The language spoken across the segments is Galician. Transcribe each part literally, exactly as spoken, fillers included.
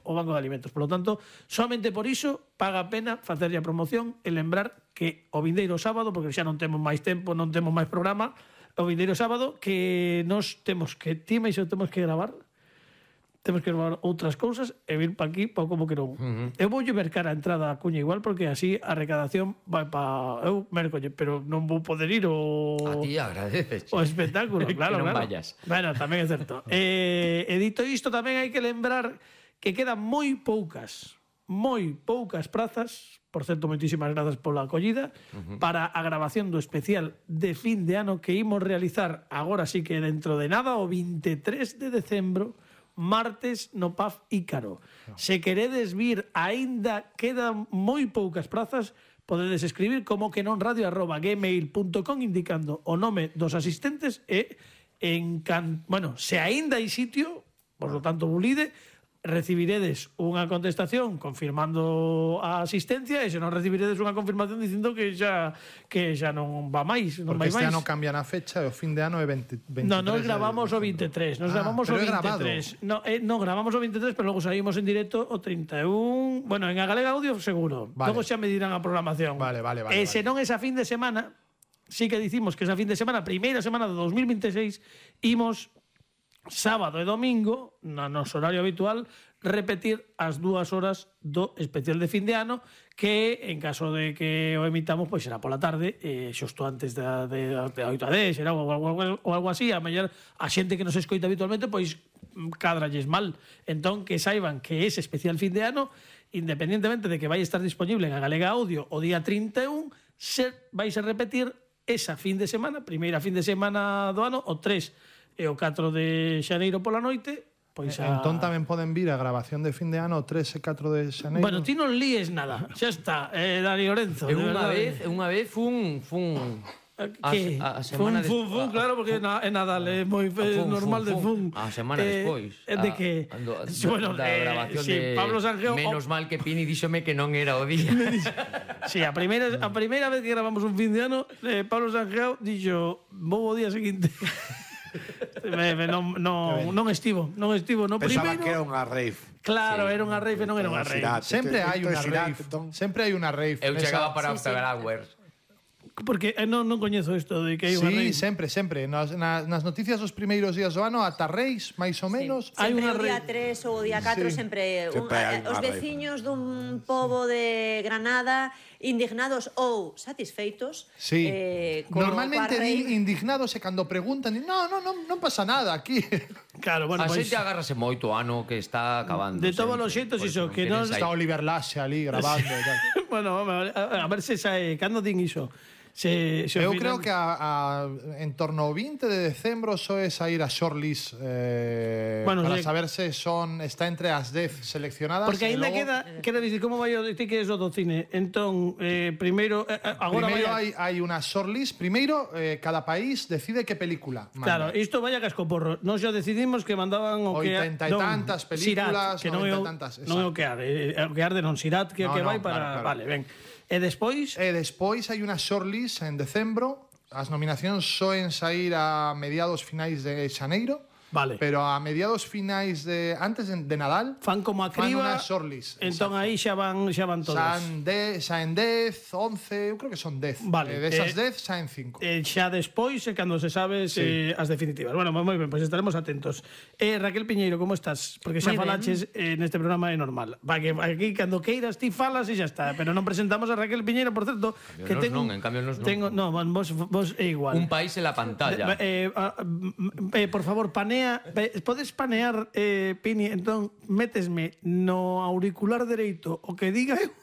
o Banco de Alimentos. Por lo tanto, somente por iso paga a pena facerlle a promoción e lembrar que o vindeiro sábado, porque xa non temos máis tempo, non temos máis programa, o vindeiro sábado que nos temos que, ti e iso temos que gravar, temos que gravar outras cousas e vir pa aquí, pa como que non. Uh-huh. Eu voulle mercar a entrada a cuña igual, porque así a recadación vai pa... Eu mercolle, pero non vou poder ir o... A ti agradeces. O espectáculo, claro, que non claro. vayas. Bueno, tamén é certo. eh, e dito isto, tamén hai que lembrar que quedan moi poucas, moi poucas prazas, por certo, moitísimas grazas pola acollida, uh-huh. para a grabación do especial de fin de ano que imos realizar agora sí que dentro de nada, o vinte e tres de decembro, martes no P A F Ícaro. Se queredes vir, aínda quedan moi poucas prazas, podedes escribir como que non radio arroba gmail punto com indicando o nome dos asistentes e en can... bueno, se aínda hai sitio, por lo tanto bulide, recibiredes unha contestación confirmando a asistencia e se non recibiredes unha confirmación dicindo que xa que xa non va máis, non vai Porque este máis. ano cambian a fecha e o fin de ano é veinte, veintitrés. No, nos gravamos o vinte e tres, nos Ah, gravamos o pero é vinte e tres. No, eh, no, gravamos o vinte e tres, pero logo saímos en directo o trinta e un. Bueno, en a Galega Audio seguro. Vale. Logo xa me dirán a programación. Vale, vale, vale. E vale. se non esa fin de semana, sí que dicimos que esa fin de semana, primeira semana de dos mil vinte e seis, imos sábado e domingo, no noso horario habitual, repetir as dúas horas do especial de fin de ano, que en caso de que o emitamos, pois será pola tarde, eh, xusto antes de, de, de oito a dez, será, ou, ou, ou algo así. A mellor a xente que nos escoita habitualmente, pois cadralles mal. Entón, que saiban que ese especial fin de ano, independientemente de que vai estar disponible en a Galega Audio o día trinta e un, se vais a repetir esa fin de semana, primeira fin de semana do ano, o tres e o catro de xaneiro pola noite. Pois a... Entón tamén poden vir a grabación de fin de ano o tres e catro de xaneiro. Bueno, ti non líes nada, xa está, eh, Dani Lorenzo. Eu unha vez, unha vez fun fun Que? A, a semana fun, fun, fun, des... claro, porque é Nadal, é moi fun, normal fun, de fun. A semana eh, despois. De a, que? Ando, a, bueno, da eh, grabación sí, de Pablo Sanjeo... Menos oh, mal que Pini díxome que non era o día. Sí, a primeira, a primeira vez que gravamos un fin de ano, eh, Pablo Sanjeo dixo, vou o día seguinte. me, me, non, non, non estivo, non estivo no Pensaba primeiro. que era unha rave. Claro, Sí. era unha rave, non era unha rave. Sempre hai unha Xirate, rave. entón. Sempre hai unha rave. Eu nesa- chegaba para Sí, sí. After Hours. Porque eh, non, non coñezo isto de que hai unha Sí, rave. sempre, sempre. Nas, nas, nas noticias dos primeiros días do ano, ata Reis, máis ou menos. Hai Sempre unha o día re- tres ou o día catro, Sí. sempre, un, Sempre hai eh, os unha rave. veciños dun pobo de Granada indignados ou satisfeitos Sí. eh, co- Normalmente coa di rave. indignados e cando preguntan, di, no, no, no, non pasa nada aquí. Claro, bueno, A pois... xente agárrase moito ano que está acabando. De todos sempre, os xeitos, pois iso, non que queren non- saír. Está Oliver Laxe ali grabando e tal. Bueno, a, a, a ver se sae, cando din iso? Se, se Eu ao creo final- que a, a, en torno ao vinte de decembro só é sair a shortlist eh, Bueno, para sí. saber se son está entre as dez seleccionadas. Porque e aínda logo, queda, queda dicir, como vai o ti que es o do cine? Entón, eh, primeiro, eh, agora Primeiro vai... hai, hai unha shortlist. Primeiro, eh, cada país decide que película manda. Claro, isto vai a cascoporro. Nós xa decidimos que mandaban o que... Oitenta e tantas películas, Sirat, que non é o, noventa e tantas, non é o exacto. que arde, é o que arde non Sirat, que é o No, que no, vai para... claro, claro. Vale, ben. E despois... E despois hai unha shortlist en decembro. As nominacións soen sair a mediados finais de xaneiro. Vale. Pero a mediados finais de antes de, de Nadal Fan como a fan criba, unha shortlist. entón exacto. aí xa van, xa van todas. Saen de, saen dez, once, eu creo que son dez. Vale, E desas eh, dez saen cinco. Eh, xa despois é cando se sabe Sí. eh, as definitivas. Bueno, moi ben, pois estaremos atentos. Eh, Raquel Piñeiro, como estás? Porque xa Moi ben. falaches eh, neste programa é normal. Va, que aquí cando queiras ti falas e xa está, pero non presentamos a Raquel Piñeiro, por certo, que nos ten non, en cambio nos non. Tengo, no, vos vos é igual. Un país en la pantalla. Eh, ah, mm, eh, por favor, panea, eh, podes panear, eh, Pini, entón métesme no auricular dereito o que diga eu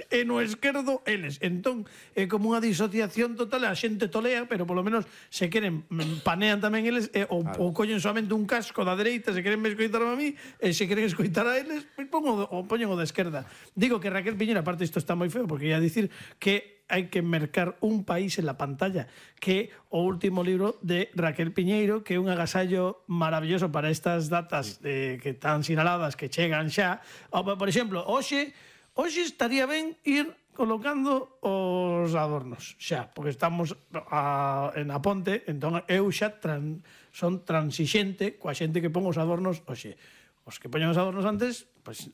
e no esquerdo eles. Entón é como unha disociación total, a xente tolea, pero polo menos se queren mm, panean tamén eles e, ou, claro. ou collen solamente un casco da dereita se queren me escoitar a mí e se queren escoitar a eles, pois pongo, o poñen o da esquerda. Digo que Raquel Piñera, aparte isto está moi feo, porque ia dicir que hai que mercar un país en la pantalla, que o último libro de Raquel Piñeiro, que é un agasallo maravilloso para estas datas eh, que están sinaladas, que chegan xa. O, por exemplo, hoxe, hoxe estaría ben ir colocando os adornos xa, porque estamos a, en a ponte, entón eu xa tran, son transixente coa xente que pon os adornos hoxe. Os que poñen os adornos antes, pois,